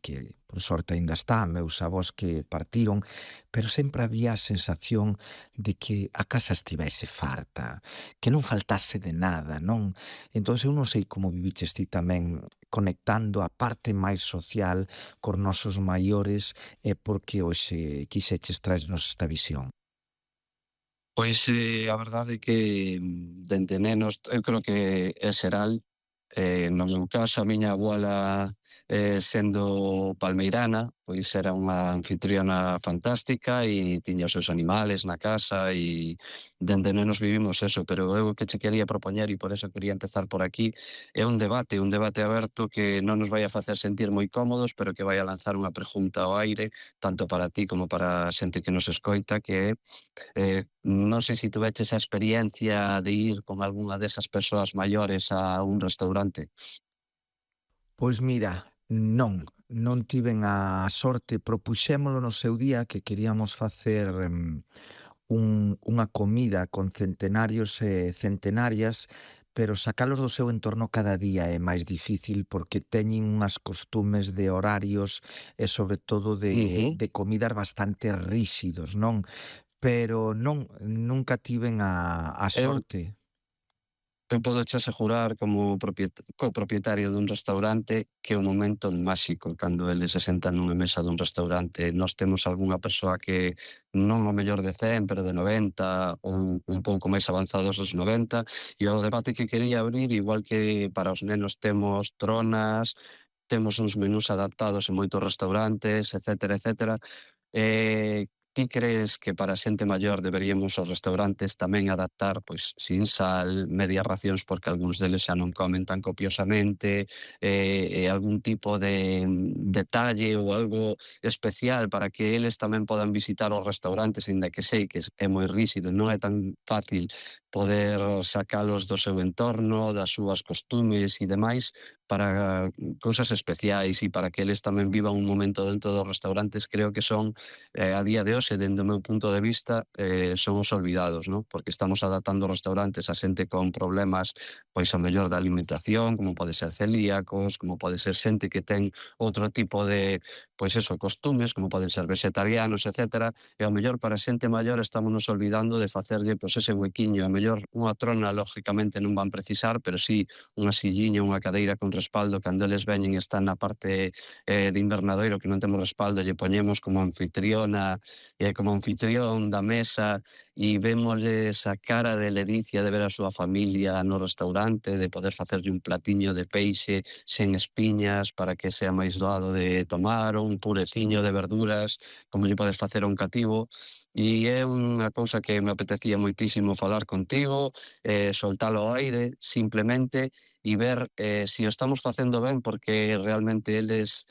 que por sorte aínda está, meus avós que partiron, pero sempre había a sensación de que a casa estivese farta, que non faltase de nada, non? Entón eu non sei como viviches ti tamén conectando a parte máis social cos nosos maiores e porque hoxe quixeches traernos esta visión. Pois, a verdade é que, dende nenos, eu creo que é xeral, no meu caso, a miña avola, sendo palmeirana, pois era unha anfitriona fantástica e tiña os seus animales na casa e dende nenos vivimos eso, pero eu o que che quería propoñer, e por eso quería empezar por aquí, é un debate aberto que non nos vai a facer sentir moi cómodos, pero que vai a lanzar unha pregunta ao aire, tanto para ti como para a xente que nos escoita, que é non sei se tuveches a experiencia de ir con algunha desas persoas maiores a un restaurante. Pois mira, non tiven a sorte, propuxémolo no seu día que queríamos facer, unha comida con centenarios e centenarias, pero sacalos do seu entorno cada día é máis difícil porque teñen unhas costumes de horarios e sobre todo Ujú. de comidas bastante ríxidos, non? Pero non, nunca tiven a Eu sorte. eu pódoche asegurar como copropietario dun restaurante que é un momento máxico cando eles se sentan nunha mesa dun restaurante. Nós temos algunha persoa que non o mellor de 100, pero de 90 ou un pouco máis avanzados dos 90, e o debate que quería abrir, igual que para os nenos temos tronas, temos uns menús adaptados en moitos restaurantes, etcétera, etcétera. Ti crees que para a xente maior deberíamos os restaurantes tamén adaptar, pois, sin sal, medias racións porque algúns deles xa non comen tan copiosamente, e algún tipo de detalle ou algo especial para que eles tamén podan visitar os restaurantes, aínda que sei que é moi ríxido, non é tan fácil poder sacalos do seu entorno, das súas costumes e demais, para cousas especiais e para que eles tamén vivan un momento dentro dos restaurantes, creo que son, a día de hoxe, dende o meu punto de vista, son os olvidados, ¿no? Porque estamos adaptando os restaurantes a xente con problemas, pois ao mellor da alimentación, como pode ser celíacos, como pode ser xente que ten outro tipo de, pois eso, costumes, como poden ser vegetarianos, etcétera, e ao mellor para a xente maior estámonos olvidando de facerlle, pois ese huequiño, ao mellor unha trona lógicamente non van precisar, pero sí unha silliña, unha cadeira con respaldo, cando eles veñen e están na parte de invernadoiro que non temos respaldo, lle poñemos como anfitriona e como anfitrión da mesa e vémosles a cara de ledicia de ver a súa familia no restaurante, de poder facerlle un platiño de peixe sen espiñas para que sea máis doado de tomar, ou un pureciño de verduras, como lle podes facer a un cativo. E é unha cousa que me apetecía moitísimo falar contigo, soltalo ao aire, simplemente, e ver se o estamos facendo ben, porque realmente eles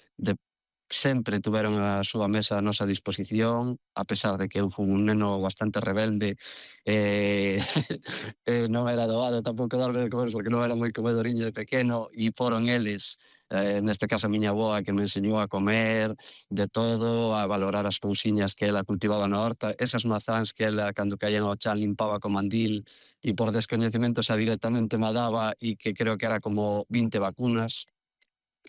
sempre tuveron a súa mesa a nosa disposición, a pesar de que eu fun un neno bastante rebelde, eh, non era doado tampouco darme de comer porque non era moi comedoriño de pequeno, e foron eles, neste caso a miña avoa, que me enseñou a comer de todo, a valorar as cousiñas que ela cultivaba na horta, esas mazáns que ela, cando caían ao chan, limpaba co mandil e por descoñecemento xa directamente me daba, e que creo que era como 20 vacunas.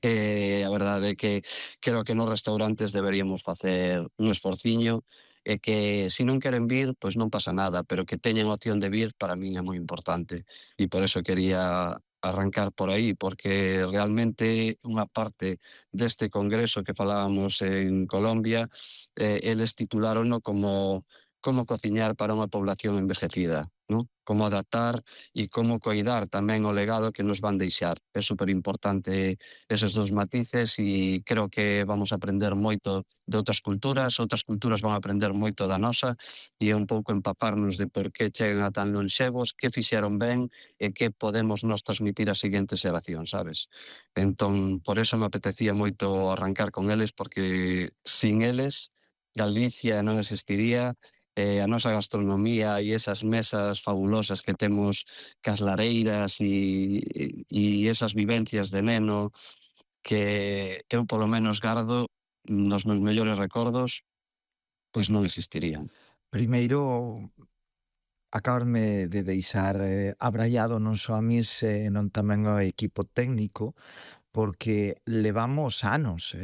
A verdade é que creo que nos restaurantes deberíamos facer un esforciño, e que se non queren vir, pois non pasa nada, pero que teñan opción de vir para min é moi importante. E por eso quería arrancar por aí, porque realmente unha parte deste congreso que falábamos en Colombia, eles titulárono como "Como cociñar para unha población envejecida", ¿no? Como adaptar e como coidar tamén o legado que nos van deixar. É superimportante eses dous matices, e creo que vamos a aprender moito de outras culturas van a aprender moito da nosa, e é un pouco empaparnos de por que chegan a tan lonxevos, que fixeron ben e que podemos nos transmitir ás seguintes xeracións, sabes? Entón, por eso me apetecía moito arrancar con eles, porque sin eles Galicia non existiría, a nosa gastronomía e esas mesas fabulosas que temos cas lareiras e esas vivencias de neno que eu polo menos gardo nos meus mellores recordos, pois non existirían. Primeiro, acábasme de deixar, abraiado non só a min, senón tamén ao equipo técnico, porque levamos anos,